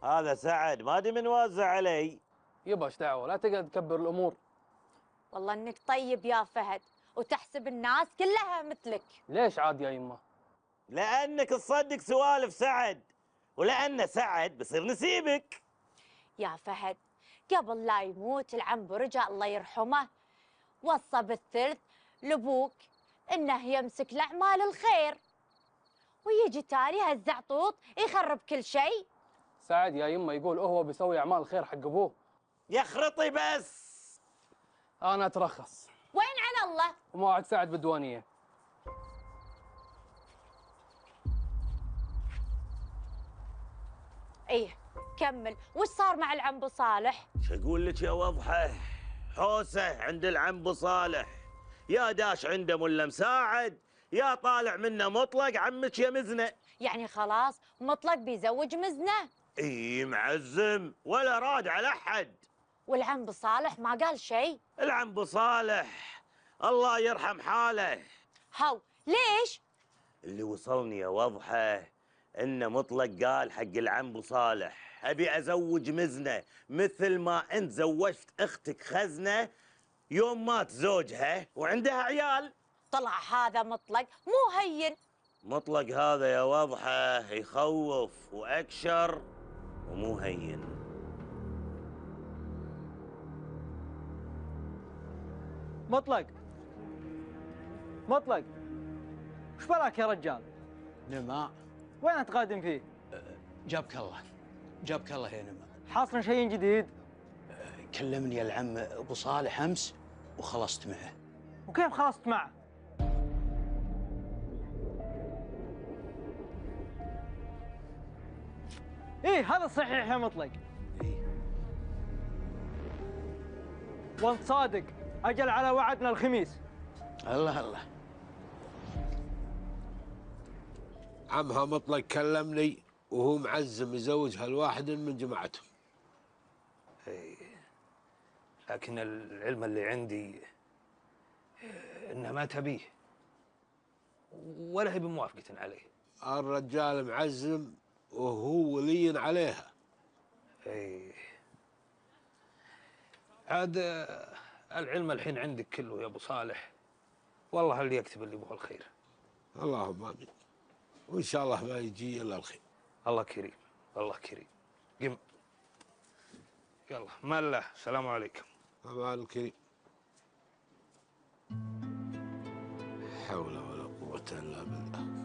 هذا سعد ما ادري من وزع علي. يبا ايش دعوه، لا تقعد تكبر الامور. والله انك طيب يا فهد، وتحسب الناس كلها مثلك. ليش عاد يا يمه؟ لانك تصدق سوالف سعد، ولان سعد بصير نسيبك. يا فهد، قبل لا يموت العم برجع الله يرحمه وصى بالثلث لابوك انه يمسك الاعمال الخير، ويجي تالي هالزعطوط يخرب كل شيء. سعد يا يمه يقول هو بيسوي اعمال خير حق ابوه. يخرطي بس. انا اترخص. وين على الله؟ وموعد سعد بالديوانيه. ايه كمل، وش صار مع العم ابو صالح؟ شو اقول لك يا وضحه؟ حوسه عند العم ابو صالح، يا داش عنده ملا مساعد، يا طالع منه مطلق عمك يا مزنه. يعني خلاص مطلق بيزوج مزنه؟ اي معزم ولا راد على احد. والعم ابو صالح ما قال شيء؟ العم ابو صالح الله يرحم حاله. هاو ليش؟ اللي وصلني يا وضحه انه مطلق قال حق العم ابو صالح ابي ازوج مزنه مثل ما انت زوجت اختك خزنه يوم مات زوجها وعندها عيال. طلع هذا مطلق مو هين. مطلق هذا يا وضحه يخوف واكشر ومو هين. مطلق مطلق، وش بلاك يا رجال؟ نما وين تقادم فيه؟ جابك الله، جابك الله يا نما. حاصل شيء جديد؟ كلمني العم ابو صالح امس وخلصت معه. وكيف خلصت معه؟ ايه هذا صحيح يا مطلق. إيه؟ وانت صادق، اجل على وعدنا الخميس. الله الله. عمها مطلق كلمني وهو معزم يزوجها لواحد من جماعتهم. لكن العلم اللي عندي انها ما تبيه ولا هي بموافقة عليه. الرجال معزم وهو ولي عليها. ايه عاد العلم الحين عندك كله يا ابو صالح، والله اللي يكتب اللي يبغى الخير. اللهم امين، وان شاء الله ما يجي الا الخير. الله كريم، الله كريم. قم يلا ما الله، السلام عليكم. امان الكريم. حول ولا قوة الا بالله.